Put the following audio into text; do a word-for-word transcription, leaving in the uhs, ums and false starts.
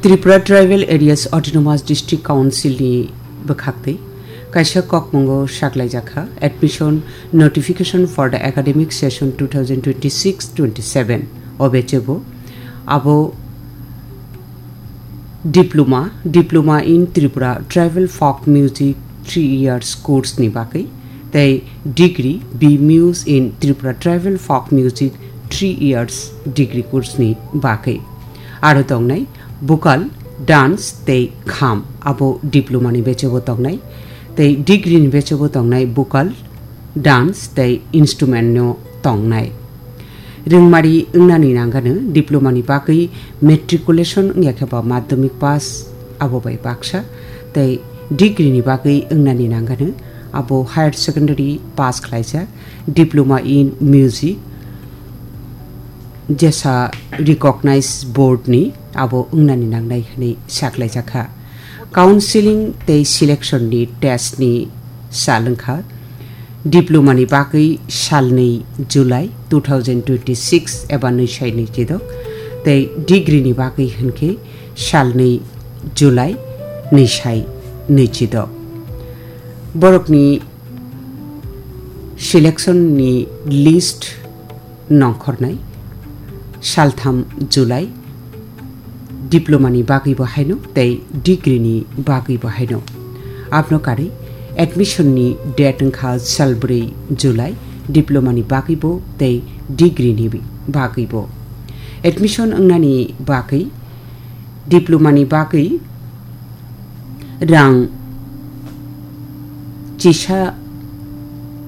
Tripura Tribal Areas Autonomous District Council ni bwkhaktwi kaisa kokmungo saklaijakha, admission notification for the academic session two thousand twenty-six twenty-seven o bechebo abo diploma, Diploma in Tripura Tribal Folk Music three years course ni bagwi tei degree B Mus in Tripura Tribal Folk Music three years degree course ni bagwi. Aro tongnai vocal, dance tei kham, abo diploma ni bechebo tongnai, tei degree ni bechebo tongnai vocal, dance tei instrument no tongnai. Rwngmari wngnani nangano diploma ni bagwi matriculation wngya khe ba madhyamik pass abo bai baksa, tei degree ni bagwi wngnani nangano abo higher secondary pass khlaijak, diploma in music, jesa recognized board ni abo wngnani nangnai hwnwi saklaijakha. Counseling tei selection ni test ni sal wngkha diploma ni bagwi salnwi July two thousand twenty-six eba nwi sai nwi chidok, tei degree ni bagwi hwnkhe salnwi July nwi sai nwi chidok. Borokni selection ni list nongkhornai saltham July diploma ni bagwi bo haino tei degree ni bagwi bo haino. Abno karwi admission ni date wngkha salbrwi July diploma ni bagwi bo tei degree ni bagwi bo. Admission wngnani bagwi diploma ni bagwi rang chisa